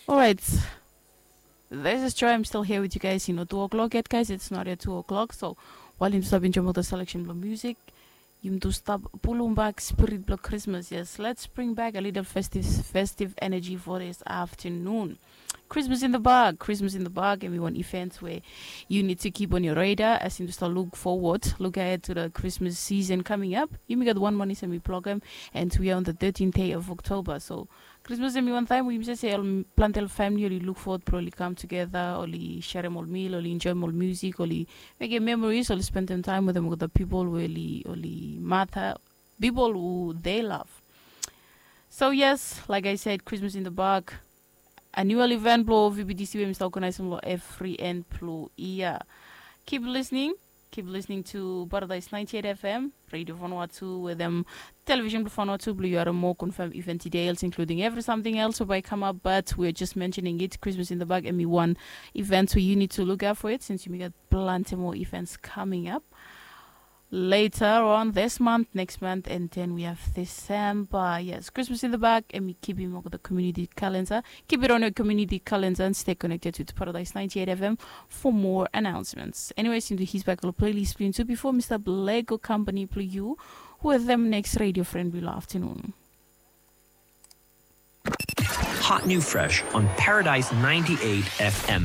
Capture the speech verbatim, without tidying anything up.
Alright. This is Joy. I'm still here with you guys. You know, two o'clock yet, guys. It's not yet two o'clock. So, while yumi stap enjoim ol selection blong music, yumi stap pulum bak spirit blong Christmas. Yes, let's bring back a little festive, festive energy for this afternoon. Christmas in the Bag. Christmas in the Bag, hemi wan event we yu nid to keep on your radar as yumi stap look forward, look ahead to the Christmas season coming up. Yumi gat wan manis hemi blogem, and we are on the thirteenth day of October. So Krismas hemi wan taem we yumi save se ol planti ol famili oli luk fowod blong oli kam tugeta, oli serem ol mil, oli enjoem ol musik, oli mekem memories, oli spendem taem wetem olgeta pipol we oli, oli mata, pipol hu they love. So yes, like I said, Christmas in the Bag, annual event blong V B T C we mi stap organizem long evri en blong yia. Keep listening, keep listening to Paradise ninety-eight F M, Radio Vanuatu, wetem television blong Vanuatu blong yu harem moa confirm event details, including every something else we bae come up. But we're just mentioning it, Christmas in the Bag, hemi wan event we yu nid to look out for it, since yumi gat planti moa events coming up later on this month, next month, and then we have December. Yes, Christmas in the Bag, hemi kipim olgeta community calendar. Keep it on your community calendar and stay connected with Paradise ninety-eight F M for more announcements. Anyways, yumi hit bak ol playlist blong yumi tu bifo mi stap lego company blong yu wetem next radio friend blong afternoon. Hot new fresh on Paradise ninety-eight F M.